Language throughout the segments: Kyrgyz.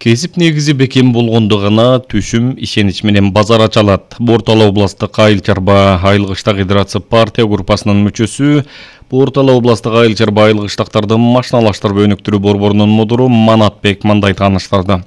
Кесип негизи бекем болгондо гана түшүм ишенич менен базар ачалат. Бортала областык Айыл чарба айыл кыштак гидратсы партия группасынын мүчөсү, Бортала областык Айыл чарба айыл кыштактарды машиналаштырып өнүктүрүү борборунун мудуру Манатбек мындай тааныштырды.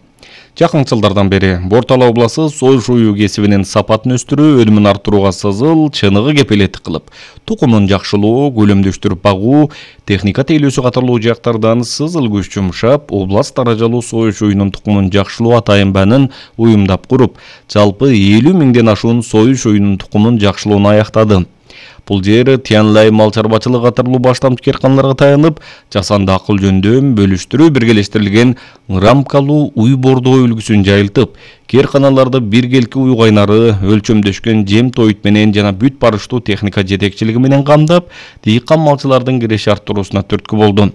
Жакын жылдардан бери Бортала обласы сой шою кесибинин сапатын өстүрүү, өнүмүн арттырууга сызыл, чыныгы кепилеттик кылып, тукумун жакшылоо, көлөмдөштүрүп багуу, техника тейлөөсү катарлуу жактардан сызыл күч жумшап, област даражалуу сой шоюнун тукумун жакшылоо атайынбанын уюмдап куруп, жалпы 50 миңден ашуун сой шоюнун тукумун жакшылоону аяктады. Бул жер Тянлай мал чарбачылык катарлуу баштамчы керканаларга таянып, жасанды акыл жөндөм, бөлүштүрүү биргелештирилген рамкалуу уй бордоо үлгүсүн жайылтып, керканаларды биргелки уй кайнары, өлчөмдөшкөн жем тоют менен жана бүт барыштуу техника жетекчилиги менен камдап, дыйкан малчылардын киреши арттыруусуна түрткү болду.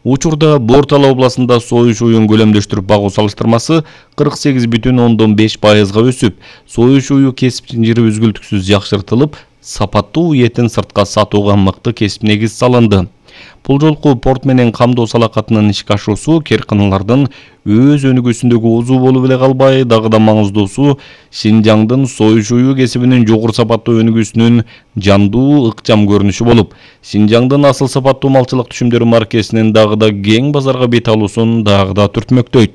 Учурда Бортала областында сой шоюн көлөмдөштүрүп багуу салыштырмасы 48,5%га өсүп, сой шою кесип жири үзгүлтүксүз жакшыртылып, сапаттуу этин сыртка сатууга мыкты кесип негиз салынды. Бул жолку порт менен камдоо салакатынын ишке ашуусу керканалардын өз өнүгүүсүндөгү узуу болуп эле калбай, дагы да маңыздуусу Шинжаңдын сой шою кесибинин жогору сапаттуу өнүгүүсүнүн жандуу, ыкчам көрүнүшү болуп, Шинжаңдын асыл сапаттуу малчылык түшүмдөрү маркесинин дагы да кең базарга бет алуусун дагы да түртмөктөйт.